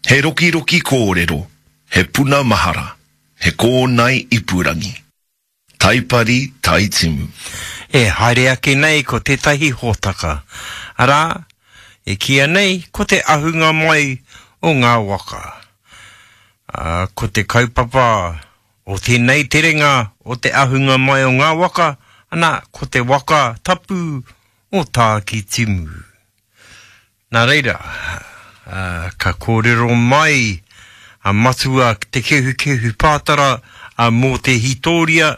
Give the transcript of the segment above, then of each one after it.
He rokiroki kōrero, he puna mahara, he kōnae ipurangi. Taipari, Taitimu. E haere ake nei ko tētahi hōtaka, arā, e kīia nei ko te ahunga mai o ngā waka. Ā, ko te kaupapa o tēnei terenga o te ahunga mai o ngā waka, ana, ko te waka tapu o Tākitimu. Nā reira, ka kōrero mai a Matua Te Kehukehu Pātara mō te hītōria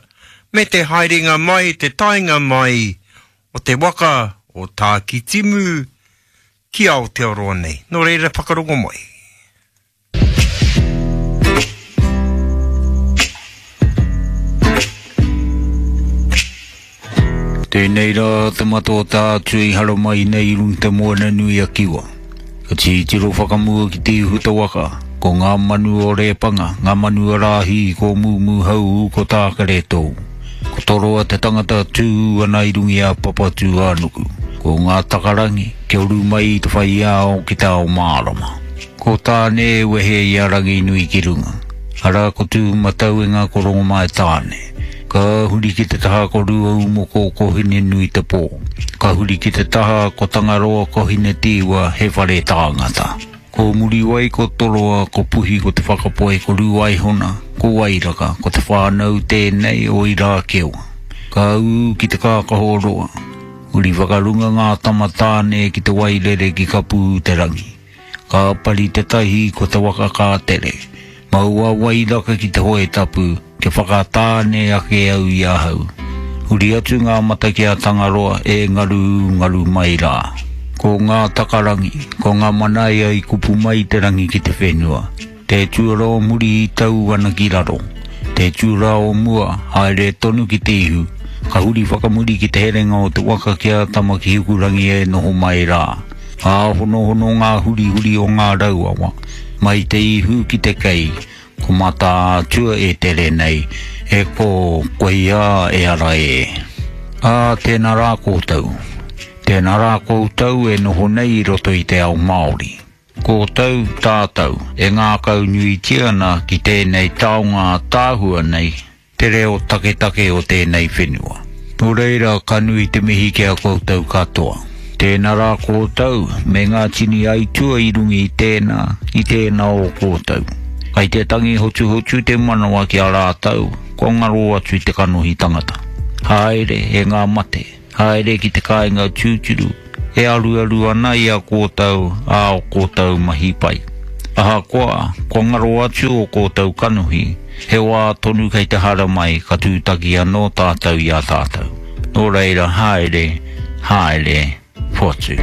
me te haerenga mai, te taenga mai o te waka o Tākitimu ki Aotearoa nei. Nō reira, whakarongo mai. Tēnei rā te mata o tā atu i haramai nei i runga te moana nui a Kiwa. Ka titiro whakamua ki te ihu te waka, ko ngā manu o Rēpanga, ngā manu o Rāhī, ko Mūmūhau, ko Tākeretō. Ko Toroa te tangata tū ana i runga i a Papatūānuku. Ko ngā takarangi, kia uru mai i te whai ao ki te ao mārama. Ko Tāne e wehe i a Ranginui ki runga, arā ko Tūmatauenga ko Rongomaitāne. Ka huri ki te taha ko Ruaumoko ko Hinenuitepō. Ka huri ki te taha ko Tangaroa ko Hinetīwa he whare tāngata. Ko Muriwai ko Toroa ko Puhi ko Te Whakapoe ko Rūaihona ko Wairaka ko te whānau tēnei o Irākewa. Ka ū ki te kākaho roa, huri whakarunga ngā tama tāne ki te wairere ki Kapū-te-rangi. Ka pari te tahi ko te waka ka tere. Mau a Wairaka ki te hoe tapu, kia whakatāne ake au i ahau. Huri atu ngā mata ki a Tangaroa e ngaru ngaru mai rā. Ko ngā takarangi, ko ngā manaia i kupu mai te rangi ki te whenua. Te tuara o muri i tau ana ki raro. Te tura o mua, haere tonu ki te ihu. Ka huri whakamuri ki te herenga o te waka ki a Tamaki-hikurangi e noho mai rā. Ka honohono ngā hurihuri o ngā rauawa, mai te ihu ki te kei, ko Mataatua e tere nei, e kō, koia e ara e. Ā, tēnā rā koutou. Tēnā rā koutou e noho nei i roto i te ao Māori. Koutou, tātou, e ngākaunuitia ana ki tēnei taonga ātaahua nei, te reo taketake o tēnei whenua. Nō reira, ka nui te mihi ki a koutou katoa. Tēnā rā koutou, me ngā tini aitua i runga i tēnā, i tēnā o koutou. Kai te tangi hotuhotu te manawa ki a rātou, kua ngaro atu te kanohi tangata. Haere, e ngā mate. Haere ki te kāinga tūturu, e aruaru ana i a kōtou ā o kōtou mahi pai. Ahakoa, kua ngaro atu ō kōtou kanohi, he wā tonu kei te haramai ka tūtaki anō tātou i a tātou. Nō reira, haere, haere, whatu.